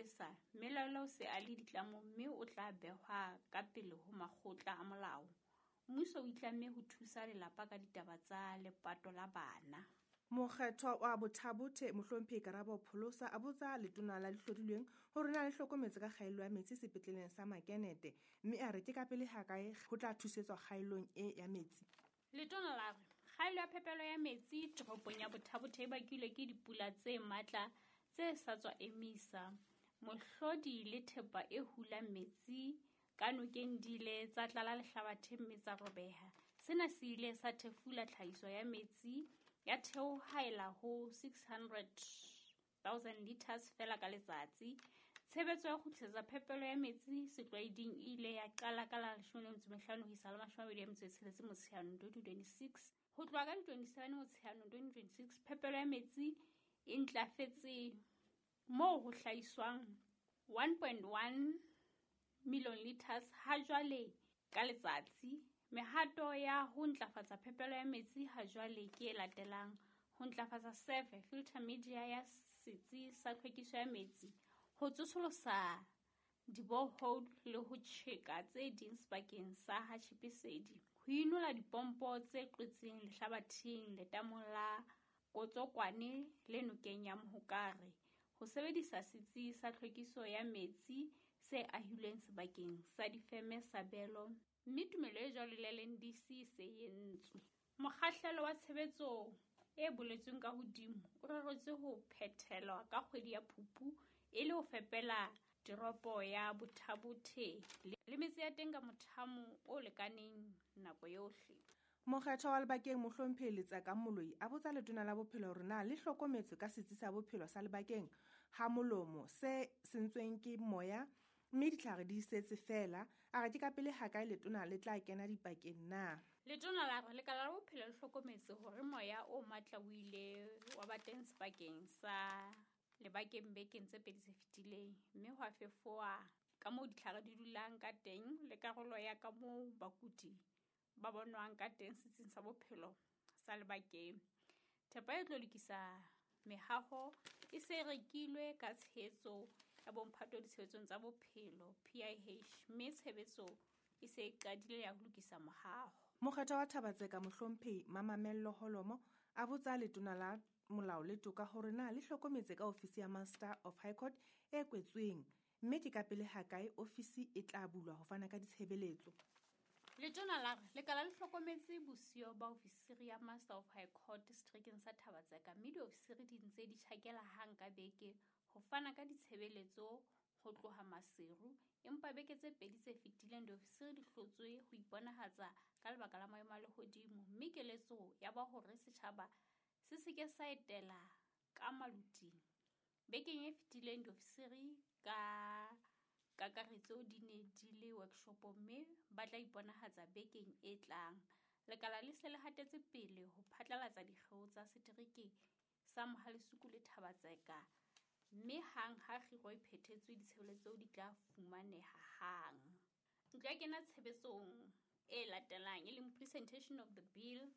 Sepolesa, mmelaelwa o se a le ditlamong mme o tla behwa ka pele ho makgotla a molao. Mmuso o itlamme ho thusa lelapa ka ditaba tsa lepato la bana. Mokgethwa wa Botha-Bothe Mohlomphehi Karabo Pholosa a botsa letona la dihlodilweng hore na le hlokometse ka kgaello ya metsi sepetleleng sa Makenete, mme a re ke ka pele hakae ho tla thusetswa kgaellong e ya metsi. Letona la re kgaello ya phepelo ya metsi toropong ya Botha-Bothe e bakilwe ke dipula tse matla tse sa tswa emisa. Mohlodi le thepa e hulang metsi ka nokeng di ile tsa tlala lehlabathe mme tsa robeha. Sena se ile sa thefula tlhahiso ya metsi ya theohaela ho 600,000 liters feela ka letsatsi. Tshebetso ya ho kgutlisetsa phepelo ya metsi setlwaeding e ile ya qala ka la 15 ho isa la 26 Motsheanong 2026. Ho tloha ka di 27 Motsheanong 2026, phepelo ya metsi e ntlafetse moo ho hlahiswang 1.1 million liters ha jwale ka letsatsi. Mehato ya ho ntlafatsa phepelo ya metsi ha jwale ke e latelang: ho ntlafatsa sefe filter media ya setsi sa tlhwekiso ya metsi, ho tsosolosa diborehole le ho tjheka tse ding sebakeng sa ha Tjhipesedi, ho inola dipompo tse qwetseng lehlabatheng letamong la Kotsokwane le nokeng ya Mohokare, ho sebedisa setsi sa tlhwekiso ya metsi se ahilweng sebakeng sa difeme sa Belo, mme tumelo e jwalo le LNDC e se e entswe. Mokgahlelo wa tshebetso e boletsweng ka hodimo o reretswe ho phethelwa ka kgwedi ya Phupu e le ho fepela teropo ya Botha-Bothe le metse ya teng ka mothamo o lekaneng nako yohle. Mokgethwa wa Lebakeng Mohlomphehi Letsaka Moloi a botsa letona la bophelo hore na le hlokometse ka setsi sa bophelo sa Lebakeng ha molomo se sentsweng ke moya mme ditlhare di setse feela. A re ke ka pele hakae letona le tla kena dipakeng na? Letona la re lekala la bophelo le hlokometse hore moya o matla o ile wa ba teng sebakeng sa Lebakeng bekeng tse pedi tse fetileng, mme hwa fefowa ka moo ditlhare di dulang ka teng le karolo ya ka moo bakudi ba bonwang ka teng setsing sa bophelo sa Lebakeng. Thepa e tlo lokisa mehaho e se e rekilwe ka tshehetso ya bomphato ditshebetsong tsa bophelo PIH, mme tshebetso e se e qadile ya ho lokisa mohaho. Mokgethwa wa Thaba-Tseka Mohlomphehi Mamamello Holomo a botsa letona la molao le toka hore na le hlokometse ka ofisi ya Master of High Court e kwetsweng, mme ke ka pele hakae ofisi e tla bulwa ho fana ka ditshebeletso. Letona la re lekala le hlokometse bosiyo ba ofisiri ya Master of High Court seterekeng sa Thaba-Tseka, mme diofisiri di ntse di tjhakela hang ka beke ho fana ka ditshebeletso ho tloha Maseru, empa beke tse pedi tse fetileng diofisiri di hlotswe ho iponahatsa ka lebaka la maemo a lehodimo, mme keletso ya ba hore setjhaba se seke sa etela ka maluting. Bekeng e fetileng diofisiri ka kakaretso di ne di le workshop mme ba tla iponahatsa bekeng e tlang. Lekala le se le hatetse pele ho phatlalatsa dikgeo tsa setereke sa Mohalesuku le Thaba-Tseka, mme hang ha kgiro e phethetswe ditshebeletso di tla fumaneha hang. Ntlo ya kena tshebetsong e latelang e leng presentation of the bill,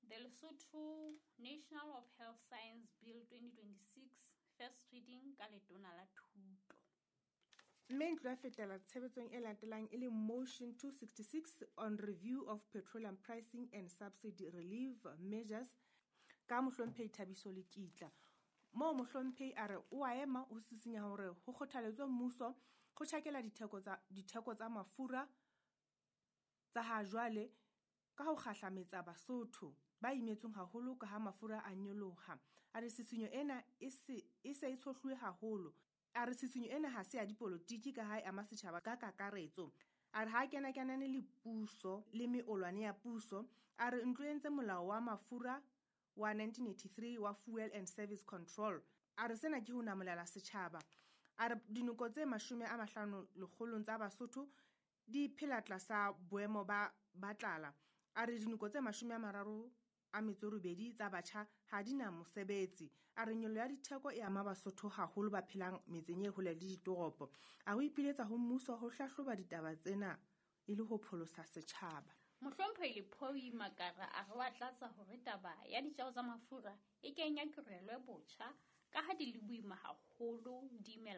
the Lesotho National of Health Science Bill 2026, first reading ka letona la thuto. Mme ntlo ya fetela tshebetsong e latelang e leng motion 266 on review of petroleum pricing and subsidy relief measures ka Mohlomphehi Thabiso Lekitla. Moo Mohlomphehi a re o a ema ho sisinya hore ho kgothaletswe mmuso ho tjhakela ditheko tsa mafura tsa ha jwale ka ho kgahlametsa Basotho ba imetsweng haholo ka ha mafura a nyoloha. A re tshisinyo ena e se e tshohluwe haholo. A re tshisinyo ena ha se ya dipolotiki ka ha e ama setjhaba ka kakaretso. A re ha kena kenane le puso le meolwane ya puso. A re ntlo e entse molao wa mafura wa 1983 wa Fuel and Service Control. A re sena ke ho namolela setjhaba. A re dinoko tse 50 tsa Basotho di phela tlasa boemo ba tlala. A re dinoko tse 38 tsa batjha ha di na mosebetsi. A re nyollo ya ditheko e ama Basotho haholo ba phelang metseng e hole le ditoropo. A ho ipiletsa ho mmuso ho hlahloba ditaba tsena e le ho pholosa setjhaba. Mohlomphehi Lephoi Makara a re wa tlatsa hore taba ya ditjeo tsa mafura e kenya kirelo botjha ka ha di le boima haholo di imela